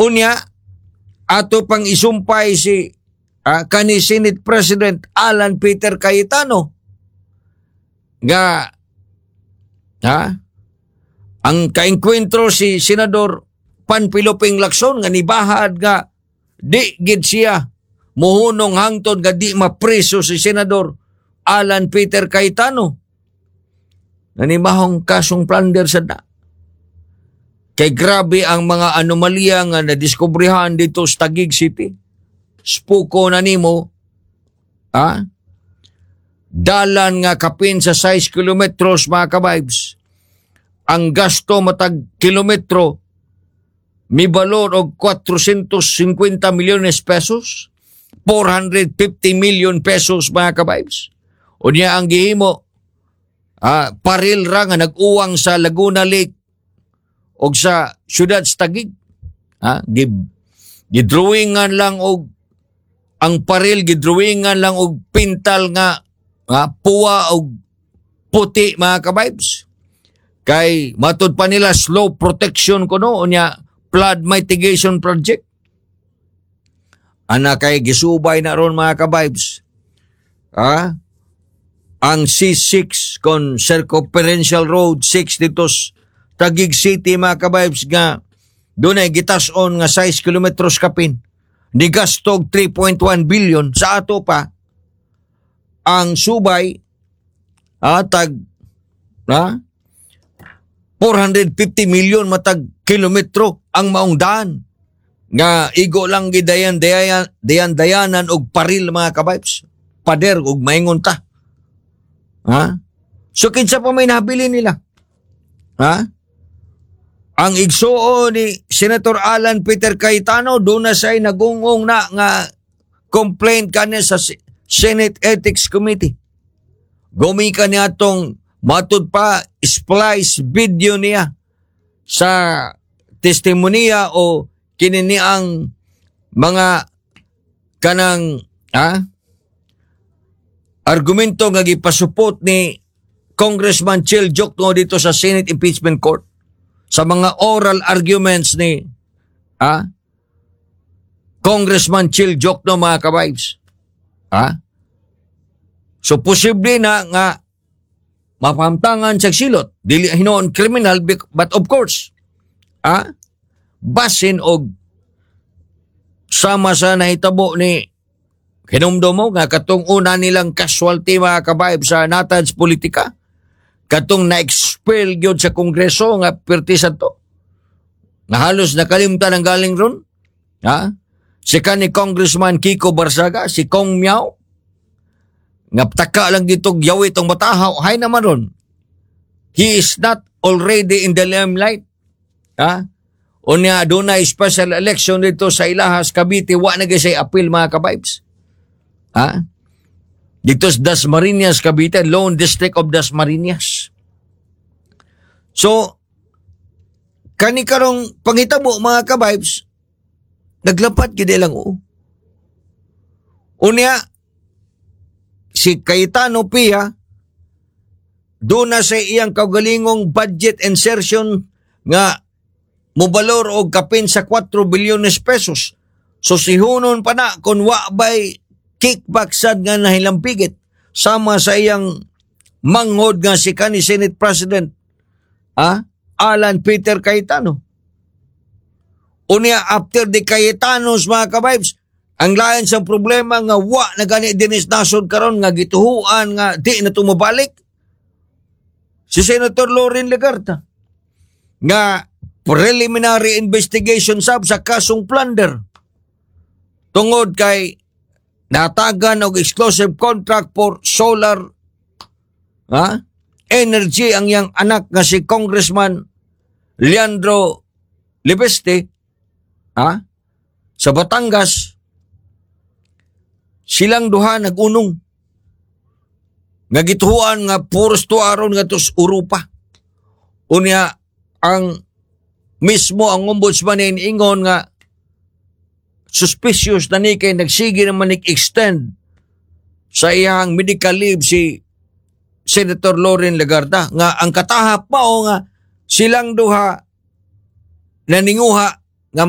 Unya, ato pang isumpay si kani Senate President Alan Peter Cayetano nga ha ang kaengkwentro si Senador Panfilo Ping Lacson nga nibahad nga di gid siya muhunong hangtod nga di mapreso si Senador Alan Peter Cayetano nanimahong kasong plunder sa na. Kay grabe ang mga anomalya nga nadiskubrehan dito sa Taguig City. Spuko na nimo, dalan nga kapin sa 6 kilometros, mga kabibes. Ang gasto matag kilometro mibalor og 450 milyones pesos, 450 million pesos, mga kabibes. Unya ang gihimo, paril ra nga nag-uwang sa Laguna Lake og sa syudad sa Taguig. Ha? Gidrawingan lang og ang paril, gidrawingan lang og pintal nga puwa og puti, mga kabibes. Kay matud pa nila slope protection kuno, unya flood mitigation project. Ana kay gisubay na ron, mga kabibes. Ha? Ang C6 kon Circumferential Road 6 dito sa Taguig City, mga kabibes, nga dunay gitas-on nga 6 kilometros kapin. Ni gastog 3.1 billion. Sa ato pa ang subay tag 450 million matag kilometro ang maong daan nga igo lang gidayan dayan dayan dayanan og paril, mga kabibes, pader og maingon ta, ha. So kinsa pa may nabili nila, ha? Ang igsuon ni Senator Alan Peter Cayetano doon na siya'y nagungong na nga complaint kanya sa Senate Ethics Committee. Gumika niya atong matud pa splice video niya sa testimonya o kini ang mga kanang argumento nga gipasupot ni Congressman Chel Diokno dito sa Senate Impeachment Court sa mga oral arguments ni Congressman Chel Diokno, mga kabibes. Ha? So posible na nga mapamtangan sa silot dili hinuon criminal, but of course basin og sama sa nahitabo ni hinumdum mo nga katong una nilang casualty, mga kabibes, sa Natans politika, katong na-expel gyud sa Kongreso nga perti sa to nga halos nakalimtan ang galing ron, ha, si kani Congressman Kiko Barzaga, si Kong Miao, nga taka lang dito yawit ang batahaw hay naman ron he is not already in the limelight, ha. Unya dunay special election dito sa Ilahas, Cavite, wa na gyud say appeal, mga kabibes, ha, dito sa Dasmariñas, Cavite, Lone District of Dasmariñas. So kani karong pangitabo, mga kabibes, naglapat gid lang oo. Unya si Cayetano Pia doon na sa iyang kaugalingong budget insertion nga mobalor og kapin sa 4 bilyones pesos. So sihunon pa na kung wa bay kickback sad nga nahilampigit sama sa iyang manghod nga si kani Senate President Alan Peter Cayetano. Unya after the Cayetanos, mga kabibes, ang lain sa problema nga wa na gani dinis nasod karon nga gituhuan nga di na tumabalik si Senator Loren Legarda nga preliminary investigation sab sa kasong plunder tungod kay natagan og exclusive contract for solar energy ang iyang anak nga si Congressman Leandro Leviste sa Batangas. Silang duha nag-unong nga gituhuan nga puros tuaron nga tos Europa. Unya ang mismo ang ombudsman ni ingon nga suspicious na ni kay nagsige naman extend sa iyang medical leave si Senator Loren Legarda nga ang katahap mao nga silang duha naninguha nga